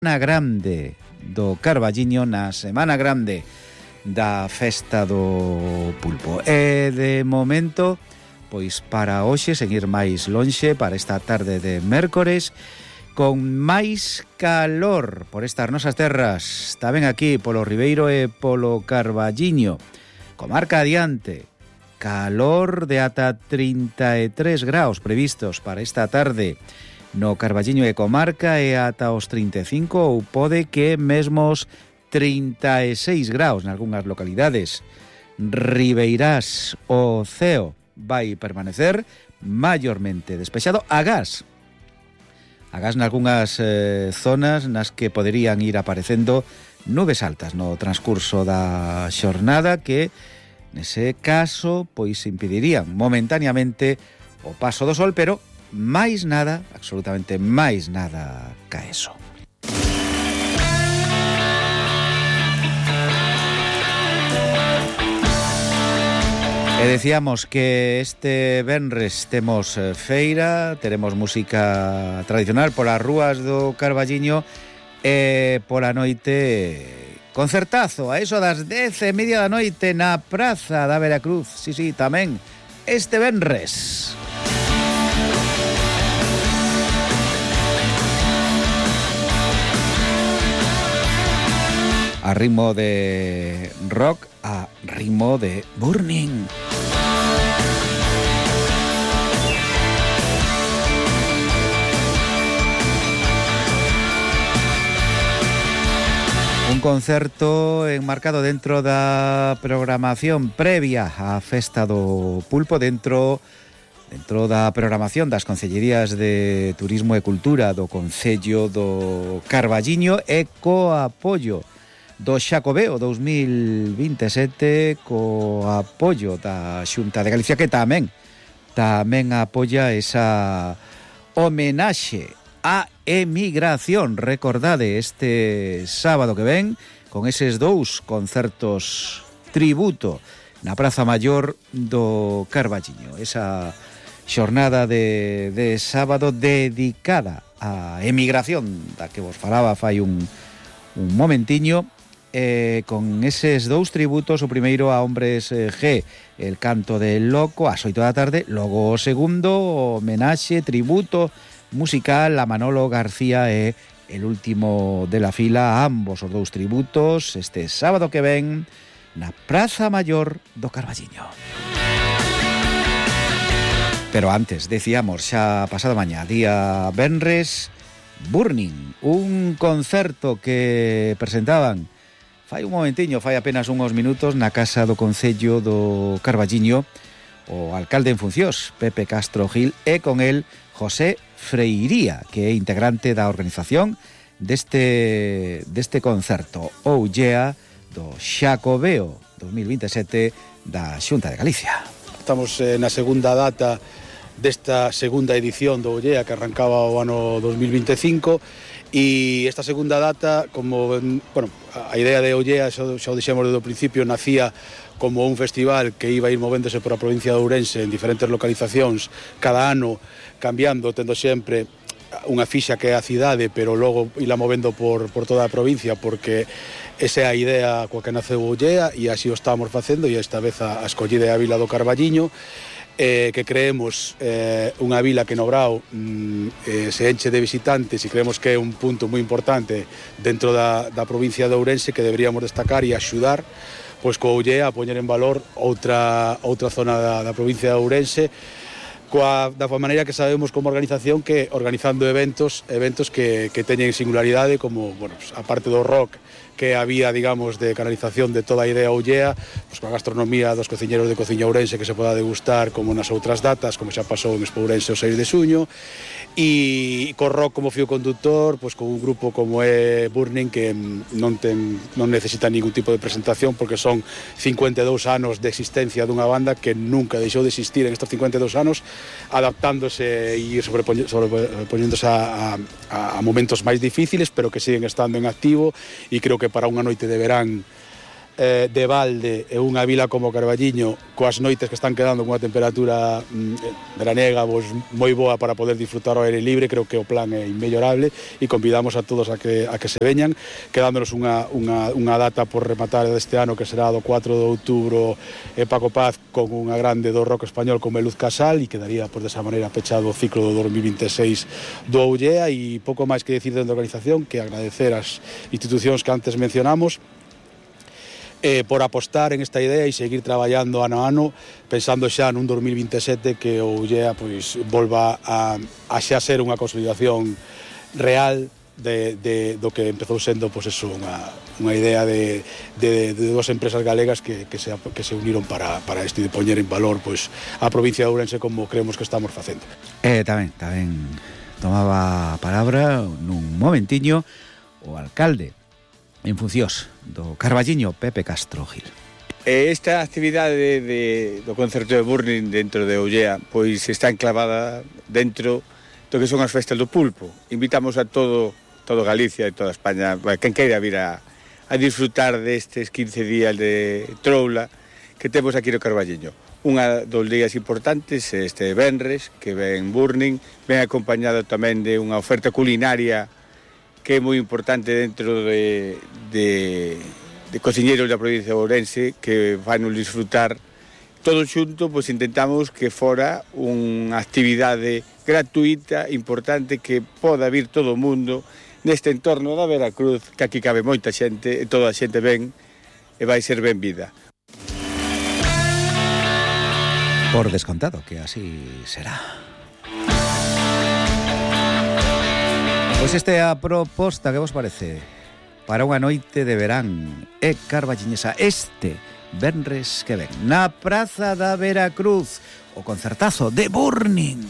Semana grande do Carballiño, na Semana grande da Festa do Pulpo. E de momento, pois para hoxe, seguir máis lonxe, para esta tarde de mércores, con máis calor por estas nosas terras, tamén aquí polo Ribeiro e polo Carballiño, comarca adiante, calor de ata 33 graus previstos para esta tarde no Carballiño e comarca, e ata os 35 ou pode que mesmos 36 graus nalgúnas localidades. Ribeirás, o ceo vai permanecer maiormente despexado, agás nalgúnas zonas nas que poderían ir aparecendo nubes altas no transcurso da xornada que, nese caso, pois impedirían momentaneamente o paso do sol, pero máis nada, absolutamente máis nada ca eso. E decíamos que este venres temos feira, teremos música tradicional polas rúas do Carballiño e pola noite concertazo, a eso das 10:30 da noite na Praza da Veracruz. Sí, tamén este venres. A ritmo de rock, a ritmo de Burning. Un concerto enmarcado dentro da programación previa á Festa do Pulpo, dentro da programación das Concellerías de Turismo e Cultura do Concello do Carballiño e co apoio do Xacobeo 2027, co apoio da Xunta de Galicia, que tamén apoia esa homenaxe á emigración. Recordade este sábado que ven con eses dous concertos tributo na Praza Maior do Carballiño. Esa xornada de sábado dedicada á emigración da que vos falaba fai un momentiño, con eses dous tributos, o primeiro a Hombres G, el canto del loco, ás 8 da tarde, logo o segundo, homenaxe, tributo musical a Manolo García e el último de la fila, ambos os dous tributos, este sábado que ven na Praza Maior do Carballiño. Pero antes, decíamos, xa pasado mañá, día venres, Burning, un concerto que presentaban fai un momentiño, fai apenas uns minutos, na Casa do Concello do Carballiño, o alcalde en funcións, Pepe Castro Gil, e con el José Freiría, que é integrante da organización deste concerto, Oh Yeah, do Xacobeo 2027 da Xunta de Galicia. Estamos na segunda data desta segunda edición do Oh Yeah, que arrancaba o ano 2025, e esta segunda data, como, bueno, a idea de Oh Yeah, xa o dixemos desde o principio, nacía como un festival que iba a ir movéndose por a provincia de Ourense en diferentes localizacións, cada ano cambiando, tendo sempre unha fixa que é a cidade, pero logo ila movendo por toda a provincia, porque esa é a idea coa que naceu Oh Yeah, e así o estamos facendo, e esta vez a escollida é a vila do Carballiño, que creemos unha vila que no Brao se enche de visitantes, e creemos que é un punto moi importante dentro da provincia de Ourense que deberíamos destacar e axudar, pois co Oh Yeah, a poñer en valor outra zona da provincia de Ourense, da maneira que sabemos como organización, que organizando eventos que teñen singularidade, como, bueno, pues, a parte do rock, que había, digamos, de canalización de toda a idea Oh Yeah, pues, coa gastronomía dos cociñeros de Cociña Ourense que se poda degustar como nas outras datas, como xa pasou en Expo Ourense o 6 de xuño, e co rock como fío conductor, pues, con un grupo como é Burning, que non necesita ningún tipo de presentación, porque son 52 anos de existencia dunha banda que nunca deixou de existir en estos 52 anos, adaptándose e sobrepoñéndose a momentos máis difíciles, pero que siguen estando en activo, e creo que para unha noite de verán de balde e unha vila como Carballiño coas noites que están quedando con unha temperatura veraniega moi boa para poder disfrutar ao aire libre, creo que o plan é inmellorable e convidamos a todos a que se veñan, quedándonos unha data por rematar deste ano que será do 4 de outubro Paco Paz con unha grande do rock español como Luz Casal e quedaría por desa maneira pechado o ciclo do 2026 do Ollea e pouco máis que decir dentro da organización que agradecer as institucións que antes mencionamos por apostar en esta idea e seguir traballando ano a ano, pensando xa nun 2027 que o Ullea pois volva a xa ser unha consolidación real do que empezou sendo pois eso, unha idea de dúas empresas galegas que se uniron para isto de poñer en valor pois a provincia de Ourense como creemos que estamos facendo. Tamén tomaba a palabra nun momentiño o alcalde en funcións do Carballiño, Pepe Castro Gil. Esta actividade do concerto de Burning dentro de Ollea pois está enclavada dentro do que son as festas do pulpo. Invitamos a todo Galicia e toda España, quen queira vir a disfrutar destes 15 días de troula que temos aquí no Carballiño. Unha dos días importantes este venres, que ven Burning, ven acompañado tamén de unha oferta culinaria que é moi importante dentro de cociñeiros da provincia de Ourense que van a disfrutar todo xunto, pois intentamos que fora unha actividade gratuita, importante, que poda vir todo o mundo neste entorno da Veracruz, que aquí cabe moita xente e toda a xente ven e vai ser ben vida. Por descontado que así será. Pois esta é a proposta, que vos parece? Para unha noite de verán e carballiñesa este venres que ven na Praza da Veracruz, o concertazo de Burning.